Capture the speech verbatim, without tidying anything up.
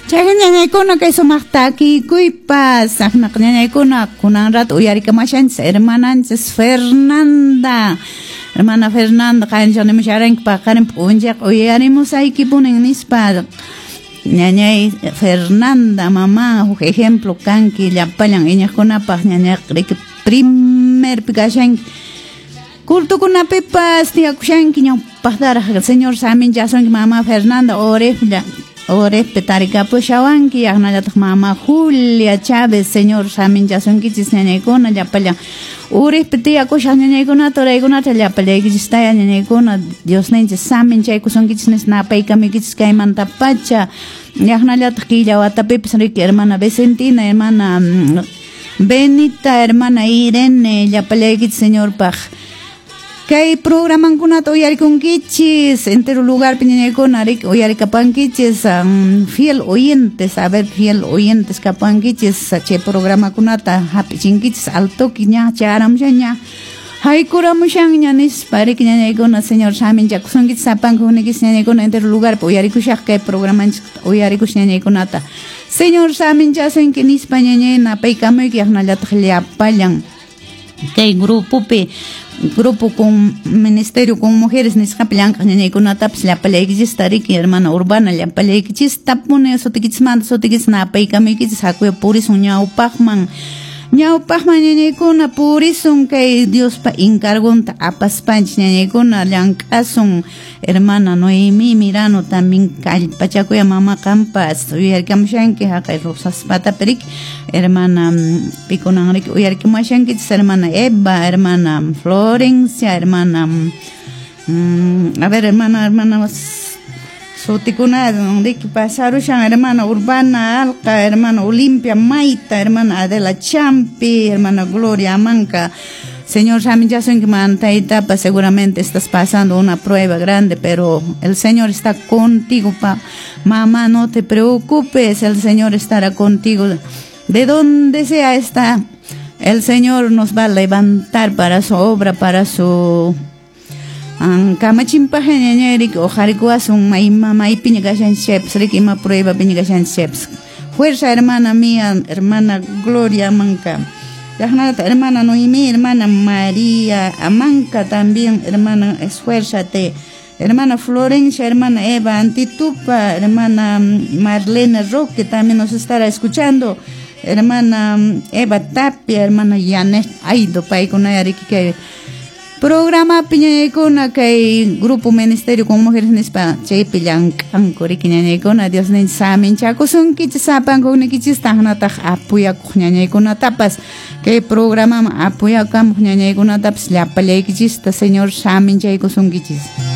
Chay ñañaykuna kay sumaq takikuypas aqnaq ñañaykuna kunan rato uyarikamashanchis hermananchis Fernanda. Hermana Fernanda qanchanimusharanki paqarin p'unchaq uyarimusaykipunin nispa. Ñañay Fernanda mamá huk ejemplo kanki llapallan iñaqkunapaq ñañaq riki primerpi kashanki cultukunapipas tiyakushanki ñawpaqtaraq señor saminchasunki mamá Fernanda orejlla orejpi tarikapushawanki yaqnallataq mamá Julia Chávez señor saminchasunkichis ñañaykuna llapallan urejpi tiyakushaq ñañaykunata uraykunata llapallaykichistaya ñañaykuna Diosninchis saminchaykusunkichis nispa napaykamuykichis kaymantapacha yaqnallataq killa watapipis riki hermana Vicentina hermana Benita hermana Irene llapallaykichis señorpaq kay programankunata uyarikunkichis entero lugar ñañaykuna riki uyarikapankichis um, fiel oyentes a ver fiel oyentes kapankichis chay programakunata hap'ichinkichis al toque ña chayaramushanña haykuramushanña nispa riki ñañaykuna señor saminchakusunkichis sapanka hukniykichis ñañaykuna entero lugarpi uyarikushaq kay programanchik uyarikush ñañaykunata señor saminchasunki nispa ñañay napaykamuyki yaqnallataq llapallan kay grupopi grupo con ministerio con mujeres nisqapi llank'aq ñañaykunatapas llapallaykichista riki hermana Urbana llapallaykichis tapuni sutikichismanta sutikichis napaykamuykichis hakuya purisun ñawpaqman ñawpaqman ñañaykuna purisun kay Diospa encargonta apaspanchis ñañaykuna llank'asun hermana Noemí Mirano también kallpachakuya mama qampas uyarikamushanki haqay Rosaspatapi riki hermana pikunan riki uyarikamushankichis hermana Eva hermana Florencia hermana mm, a ver hermana hermana sutikuna riki pasarushan hermana Urbana Alca hermana Olimpia Maita hermana Adela Champi hermana Gloria Amanca. Señor saminchasunki mantaytapas seguramente estás pasando una prueba grande, pero el Señor está contigo, pa. Mamá, no te preocupes, el Señor estará contigo. De donde sea está, el Señor nos va a levantar para su obra, para su kamachinpaq ñañay riki uqharikuwasun ima maypiña kashanchis riki ima prueba piña kashanchis. Fuerza hermana mía, hermana Gloria Amanca. Yaqnalata hermana Noemí, hermana María Amanca también, hermana, esfuérzate. Hermana Florencia, hermana Eva Antitupa, hermana Marlene Roque también nos estará escuchando. Hermana Eva Tapia, hermana Yanet Aido, paykuna riki kay programa ñañaykuna kay grupo ministerio con mujeres nispa chaypi llank'anku riki ñañaykuna Diosninchis saminchakusunkichis sapanka hukniykichis taqnataq apoyakuq ñañaykunatapas kay programaman apoyakamuq ñañaykunatapas llapallaykichista Señor saminchaykusunkichis.